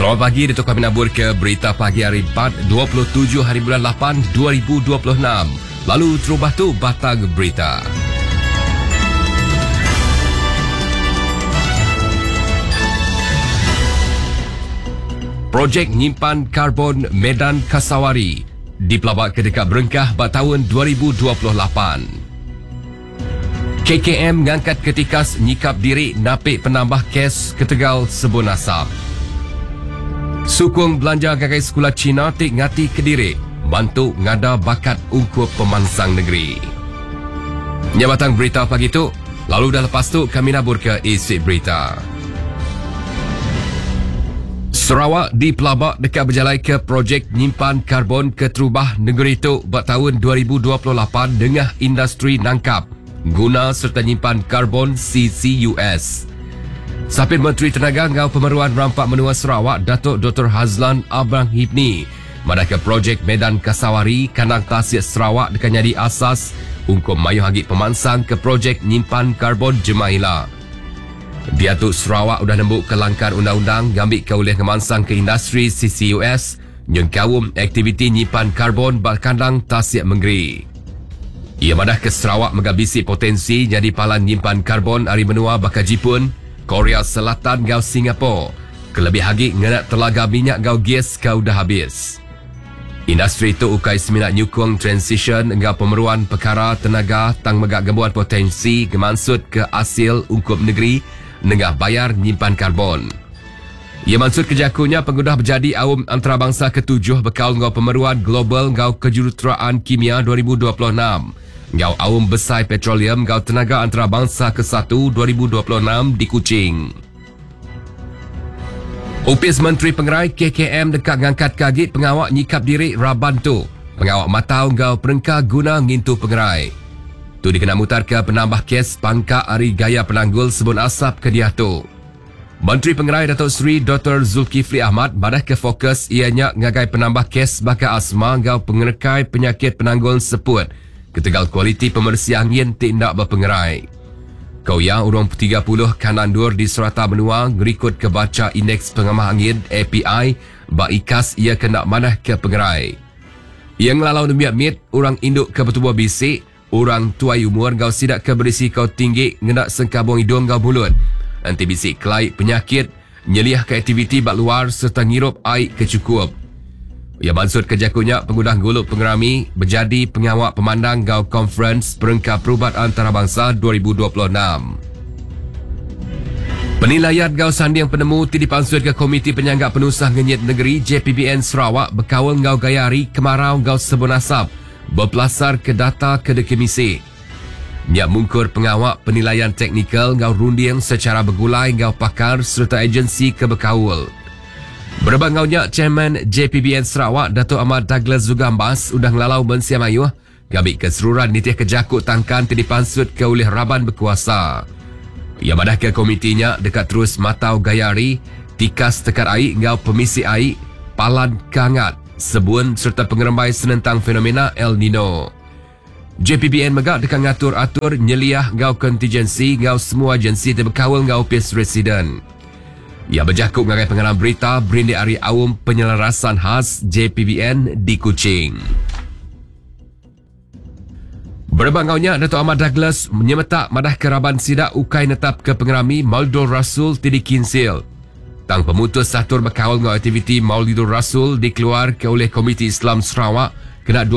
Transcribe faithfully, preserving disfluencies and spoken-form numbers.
Selamat pagi, Datuk kami nabur ke berita pagi hari empat, dua puluh tujuh hari bulan lapan, dua ribu dua puluh enam. Lalu terubah tu batang berita. Projek nyimpan karbon Medan Kasawari dipelabak ke dekat berengkah pada tahun dua ribu dua puluh lapan. K K M ngangkat ketikas nyikap diri napik penambah kes ketegal sebun asap. Sukung belanja gagai sekolah Cina tik ngati kediri bantu ngada bakat ungkup pemansang negeri. Nyabatang berita pagi tu, lalu dah lepas tu kami nabur ke isi berita. Sarawak dipelabak dekat berjalan ke projek nyimpan karbon keterubah negeri itu buat tahun dua ribu dua puluh lapan dengan industri nangkap guna serta nyimpan karbon C C U S. Sapit Menteri Tenaga Ngau Pemeruan Rampak Menua Sarawak Datuk Doktor Hazland Abang Hipni madah ke projek Medan Kasawari Kandang Tasik Sarawak dekat nyadi asas ungkup mayuh agi pemansang ke projek nyimpan karbon Jemaila. Diatu Sarawak udah nembuk ke langkar undang-undang ngambil ke oleh ngemansang ke industri C C U S nyengkaum aktiviti nyimpan karbon ba kandang Tasik Mengeri. Ia madah ke Sarawak megabisi potensi jadi palan nyimpan karbon ari menua bakal Jepun, Korea Selatan gau Singapura. Kelebih lagi ngenak telaga minyak gau gas kau dah habis. Industri itu ukai seminat nyukung transition engau pemeruan perkara tenaga tang megak gembuan potensi gemansut ke hasil ungkup negeri nengah bayar nyimpan karbon. Ia maksud kejakunya pengudah berjadi awam antarabangsa ketujuh bekal ngau pemeruan global ngau kejuruteraan kimia dua ribu dua puluh enam. Ngau awam besar petroleum ngau tenaga antarabangsa kesatu dua ribu dua puluh enam di Kuching. Upis Menteri Pengerai K K M dekat ngangkat kagit pengawak nyikap diri raban tu. Pengawak matau ngau perengka guna ngintu pengerai. Tu dikena mutar ke penambah kes pangkak ari gaya penanggul sebun asap ke dia tu. Menteri Pengerai Datuk Seri Doktor Zulkifli Ahmad madah ke fokus ianya ngagai penambah kes bakal asma ngau pengerekai penyakit penanggul seput. Ketegal kualiti pemersi angin tidak berpengerai. Kau yang urung tiga puluh kanan dur di serata menua ngerikut kebaca indeks pengamah angin A P I ba ikas ia kena manah ke pengerai. Ia ngelalau nemiak mit orang induk ke bertubuh bisik, orang tuai umur gau sidak ke berisiko tinggi ngenak sengkabung hidung gau mulut. Anti bisik kelai penyakit, nyeliah ke aktiviti bak luar serta ngirup air kecukup. Ia maksud kejakunya pengudah guluk pengerami berjadi pengawak pemandang gau konferens Perengka Perubat Antarabangsa dua ribu dua puluh enam. Penilaian gau sanding penemu ti dipansut ke Komiti Penyanggap Penusah Ngenyit Negeri J P B N Sarawak berkawal gau gaya hari kemarau gau sebun asap berpelasar ke data ke dekemisi. Nyak mungkur pengawak penilaian teknikal gau runding secara bergulai gau pakar serta agensi kebekaul. Berbangaunya Chairman J P B N Sarawak Datuk Ahmad Douglas Zugambas udah ngelalau mensia mayuh gabik keseruran nitih kejakut tangkan ti dipansut ke oleh raban berkuasa. Ia madah ke komitinya dekat terus matau gayari, tikas tekad air ngau pemisi air, palan kangat, sebun serta pengerembai senentang fenomena El Nino. J P B N megak dekat ngatur-atur nyeliah ngau kontingensi ngau semua agensi terbekawal ngau P S Residen. Ia berjakut ngagai pengarang berita berindik hari awam penyelarasan khas J P B N di Kuching. Berbangaunya Datuk Ahmad Douglas menyemetak madah keraban sidak ukai netap ke pengerami Maulidul Rasul Tidi Kinsil. Tang pemutus satur berkawal ngau aktiviti Maulidul Rasul dikeluar ke oleh Komiti Islam Sarawak kena dua